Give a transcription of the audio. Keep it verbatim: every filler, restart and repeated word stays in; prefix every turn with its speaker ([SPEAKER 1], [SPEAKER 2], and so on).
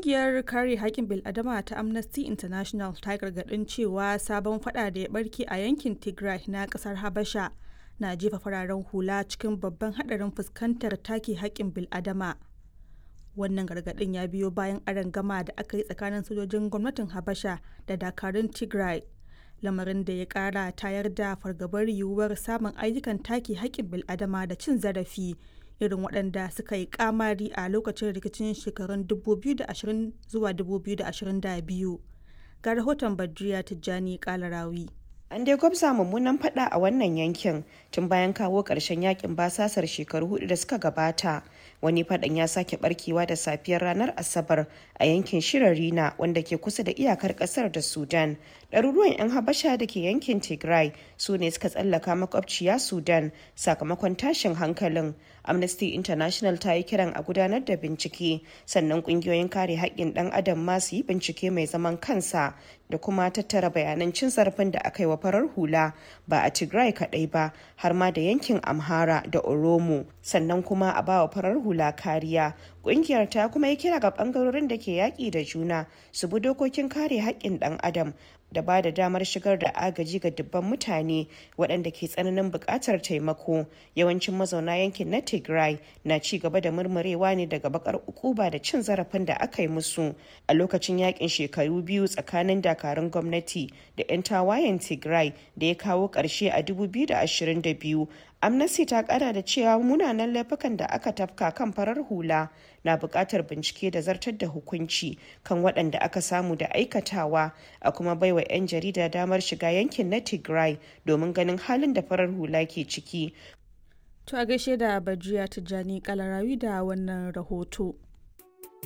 [SPEAKER 1] Ƙungiyar kare haƙƙin bil'adama ta Amnesty International ta gargaɗin cewa sabon fada da ya barke a yankin Tigray na ƙasar Habasha na jefa fararen hula cikin babban haɗarin fuskantar take haƙƙin bil'adama. Wannan gargaɗin ya biyo bayan arangama da aka yi tsakanin sojojin gwamnatin Habasha da dakarun Tigray, lamarin da ya ƙara tayar da fargabar yiwuwar samun ayyukan take haƙƙin bil'adama da cin zarafi irin waɗanda suka yi kamari a lokacin rikicin shekarun dubu biyu da ashirin zuwa dubu biyu da ashirin da biyu. Ga rahoton Badriya Tijjani Kalarawi.
[SPEAKER 2] An dai gwabza mummunan fada a wannan yankin tun bayan kawo ƙarshen yakin basasar shekaru hudu da suka gabata. Wani fadan ya sake barkewa da safiyar ranar Asabar a yankin Shirarina, wanda ke kusa da iyakar kasar da Sudan. Ɗaruruwan 'yan Habasha da ke yankin Tigray su ne suka tsallaka makwabciya Sudan sakamakon tashin hankalin. Amnesty International ta yi kiran a gudanar da bincike, sannan ƙungiyoyin kare haƙƙin ɗan adam ma su yi bincike mai zaman kansa da kuma tattara bayanan cin zarafin da aka yi wa farar hula, ba a Tigray kaɗai ba, har ma da yankin Amhara da Oromo, sannan kuma a bawa farar hula kariya. Ƙungiyar ta kuma yi kira ga ɓangarorin da ke yaƙi da juna su bi dokokin kare haƙƙin ɗan adam da ba da damar shigar da agaji ga dubban mutane waɗanda ke tsananin buƙatar taimako. Yawancin mazauna yankin na Tigray na ci gaba da murmurewa ne daga bakar ukuba da cin zarafin da aka yi musu a lokacin yakin shekaru biyu tsakanin dakarun gwamnati da 'yan tawayen Tigray da ya kawo ƙarshe a dubu biyu da ashirin da biyu. Amnesty ta kara da cewa munanan laifukan da aka tafka kan farar hula na buƙatar bincike da zartar da hukunci kan waɗanda aka samu da aikatawa, a kuma baiwa 'yan jarida damar shiga yankin na Tigray domin ganin halin da farar hula ke ciki.
[SPEAKER 1] To, a gaishe da Bajiya Tijjani Kalarawi da wannan rahoto.